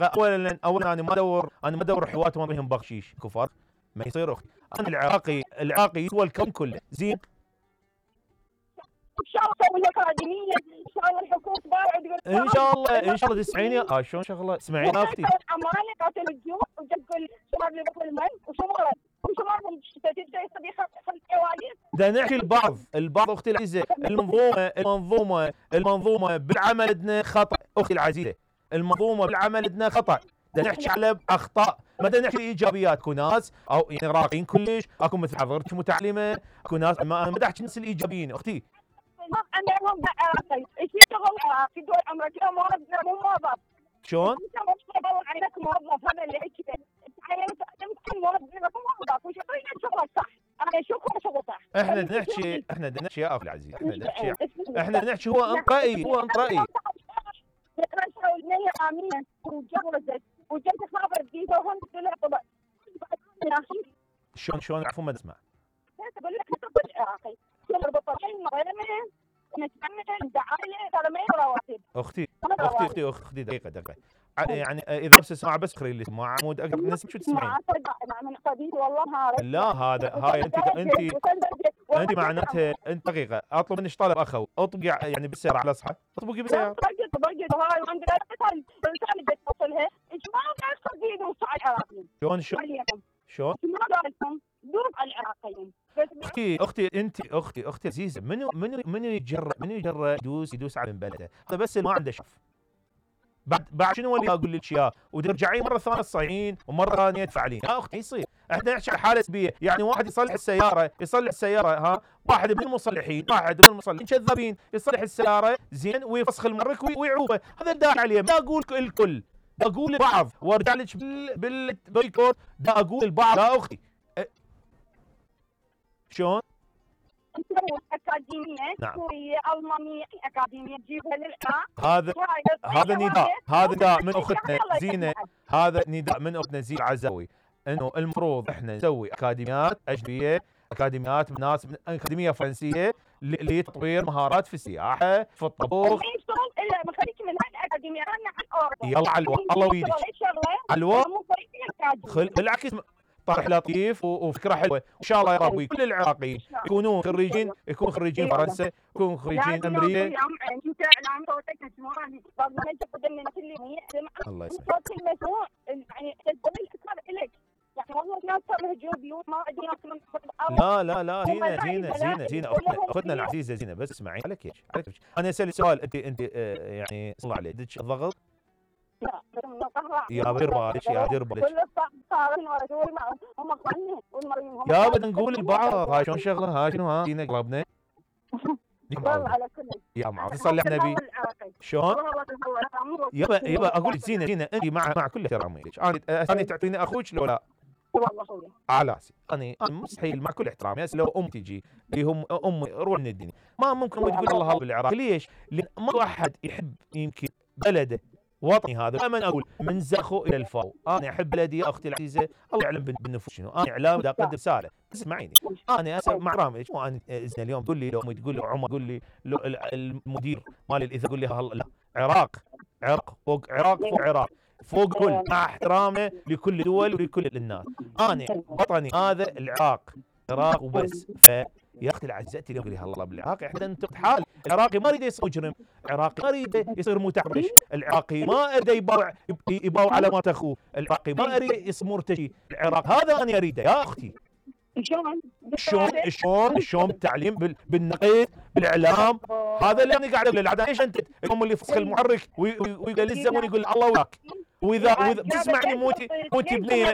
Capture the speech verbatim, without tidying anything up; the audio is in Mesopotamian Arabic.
الحقيقه اولا اولا انا ما ادور انا ما ادور حوات وما بهم بخشيش كفر ما يصير اختي. انا العراقي العراقي يسوى الكون كله زين. ان شاء الله اسوي لك اكاديميه، ان شاء الله الحكومه تبارك ان شاء الله ان شاء الله تسمعيني. اه شلون شغله اسمعيني يا اختي. امانه قاتل الجوع وتقول شباب اللي بطل المن وشمال وشمال تبدا يصير خلف حوادث. دا نحكي البعض البعض اختي العزيزه المنظومه المنظومه المنظومه بالعمل عندنا خطا اختي العزيزه. المنظومه بالعمل عندنا خطا. دا نحكي على اخطاء ما دا نحكي ايجابيات. اكو ناس او يعني راقين كلش، اكو مثل حضرتك متعلمه، اكو ناس ما انا ما احكي الناس الايجابيين اختي. انا هم عراقي ايش يشتغل عراقي دول امريكا مو موظف. شلون؟ انت ما تشتغل عينك موظف هذا اللي يحكي تعينت انت موظف موظف وشغلك شغلك صح. انا اشوفكم شغل صح. احنا بدنا نحكي احنا بدنا نحكي يا اخي العزيز احنا بدنا نحكي احنا بدنا نحكي هو انت رايي هو انت رايي. يقرأ النية آمينة وجوزت وجت خابر جديدة وهم طلع طلع. شلون شلون عفوا ما نسمع. اقول لك نطبق العراقي يربط الطرفين مغرمين نتعمل دعايه ترى ما رواتب. اختي اختي اختي اختي دقيقه دقيقه يعني اذا بس اسمع بس خلي لي اسمع عمود اقرب الناس شو تسمعين؟ من قديم والله هذا لا هذا هاي انت انت انت معناتها انت دقيقه اطلب منك طلب اخو اطبقي يعني بالسياره على اصحى اطبقي بالسياره. طبقت طبقت هاي وعندنا الانسان اللي توصلها ايش ما قاعد قديم وصاع العراقيين. شلون شلون؟ شلون؟ ما قالكم دوب على العراقيين. اختي اختي انت اختي اختي عزيزه منو منو منو يتجرأ منو يتجرأ يدوس يدوس على من بلده هذا بس اللي ما عنده شف. بعد بعد شنو اللي اقول لك اياه وترجعين مره ثانيه تصيحين ومره ثانيه تفعلين. يا اختي يصير احنا نحكي على حاله سلبيه يعني واحد يصلح السياره يصلح السياره ها واحد من المصلحين واحد من المصلحين كذابين يصلح السياره زين ويفسخ المرك ويعوبه هذا الداعي عليه. لا اقول الكل دا اقول البعض وارجع لك بال بالبويكوت دا اقول البعض. يا اختي أه شلون؟ نسوي اكاديميه نعم. سوريه المانيه اكاديميه تجيبها للعراق. هذا هذا نداء هذا نداء من اختنا زينه هذا نداء من اختنا زينه العزاوي انه المفروض احنا نسوي اكاديميات اجنبيه اكاديميات ناس اكاديميه فرنسيه لتطوير مهارات في السياحه في الطبخ. ما يشتغل الا ما خليك من هالاكاديميه انا عن اورد. يلا على الوقت الله ويدك على الوقت بالعكس طرح لطيف وفكره حلوه وان شاء الله يا ربي كل العراقيين يكونون خريجين يكونوا خريجين فرنسا يكونوا خريجين امريكا. الله يسلمك. لا لا لا زينه زينه زينه زينه اختنا اختنا العزيزه زينه بس اسمعي عليك ايش عليك ايش انا اسالك سؤال انت انت آه يعني صلى عليه عندك ضغط؟ لا يا دير بالك يا دير بالك يا بدنا نقول البعض هاي شلون شغله هاي شنو ها زينه قلبنا يا معاذ صلي على النبي شلون؟ يبا يبا اقول لك زينه زينه انت مع مع كل احترامي لك انا انا تعطيني اخوك لو لا؟ والله اخوي على راسي انا مستحيل مع كل احترامي هسه لو ام تجي اللي هم ام روح من الدنيا ما ممكن تقول الله بالعراق. ليش؟ لان ما واحد يحب يمكن بلده وطني هذا دائما اقول من زخو الى الفاو. انا احب بلدي يا اختي العزيزه الله يعلم بالنفوس شنو انا اعلام بدي اقدم رساله اسمعيني. انا اسف مع رامي مو انا اذن اليوم تقول لي لو تقول لي عمر تقول لي المدير مال الاذاعه يقول لي لا عراق عراق فوق عراق فوق عراق فوق كل مع احترامه لكل الدول ولكل الناس. انا وطني هذا العراق عراق وبس. ف يا اختي العزيزتي اليوم قولي الله بالعراق احنا ننتقد حال العراقي ما يريد يصير مجرم، العراقي ما يريد يصير متحرش، العراقي ما يريد يباوع يباوع على مات اخوه، العراقي ما يريد يصير مرتشي، العراق هذا انا اريده يا اختي. شلون؟ شلون شلون شلون بالتعليم بالنقيض بالاعلام هذا اللي انا قاعد اقول له. ايش انت اليوم اللي يفسخ المحرك ويقول للزمن يقول الله وياك واذا واذا بتسمعني موتي موتي بنيه